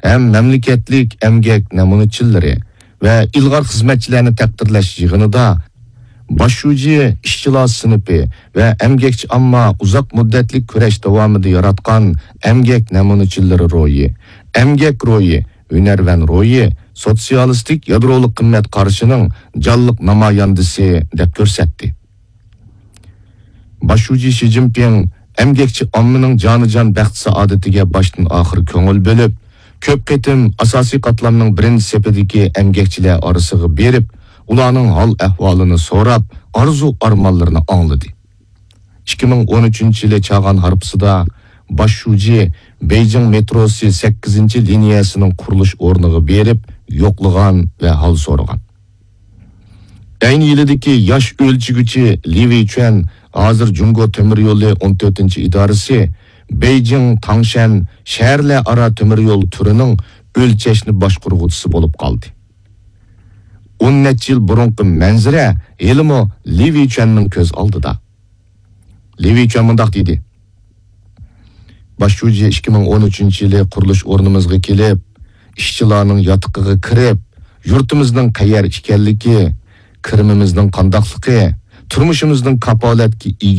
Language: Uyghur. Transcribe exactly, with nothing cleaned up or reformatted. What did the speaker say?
ھەم مەملىكەتلىك ئەمگەك نەمۇنىچىلىرى ۋە ئىلغار خىزمەتچىلەرنى تەقدىرلەش يىغىنىدا باش شۇجى ئىشچىلار سىنىپى ۋە ئەمگەكچى ئامما ئۇزاق مۇددەتلىك كۈرەش داۋامىدا ياراتقان ئەمگەك نەمۇنىچىلىرى روھى، ئەمگەك روھى، ھۈنەرۋەن روھى سوتسىيالىستىك يادرولۇق قىممەت قارىشىنىڭ جانلىق نامايەندىسى دەپ كۆرسەتتى. باش شۇجى شى جىنپىڭ ئەمگەكچى ئاممىنىڭ جانىجان بەخت-سائادىتىگە باشتىن-ئاخىر كۆڭۈل بۆلۈپ، كۆپ قېتىم ئاساسىي قاتلامنىڭ بىرىنچى سېپىدىكى ئەمگەكچىلەر ئارىسىغا بېرىپ، ئۇلارنىڭ ھال-ئەھۋالىنى سوراپ، ئارزۇ-ئارمانلىرىنى ئاڭلىدى. ئىككى مىڭ ئون ئۈچىنچى يىلى چاغان ھارپىسىدا باش شۇجى بېيجىڭ مېتروسى سەككىزىنچى لىنىيەسىنىڭ قۇرۇلۇش ئورنىغا بېرىپ يوقلىغان ۋە ھال سورىغان. ئەينى يىلىدىكى ياش ئۆلچىگۈچى لى ۋېيچۈەن ھازىر جۇڭگو تۆمۈر يولى ئون تۆتىنچى ئىدارىسى بېيجىڭ تاڭشەن شەھەرلەر ئارا تۆمۈر يول تۈرىنىڭ ئۆلچەشنى باشقۇرغۇچىسى بولۇپ قالدى. ئون نەچچە يىل بۇرۇنقى مەنزىرە ھېلىمۇ لى ۋېيچۈەننىڭ كۆز ئالدىدا. لى ۋېيچۈەن مۇنداق دېدى: باش شۇجى ئىككى مىڭ ئون ئۈچىنچى يىلى قۇرۇلۇش ئورنىمىزغا كېلىپ، ئىشچىلارنىڭ ياتىقىغا كىرىپ، يۇرتىمىزنىڭ قەيەر ئىكەنلىكى، كىرىمىمىزنىڭ قانداقلىقى، تۇرمۇشىمىزنىڭ كاپالەتكە ئىگە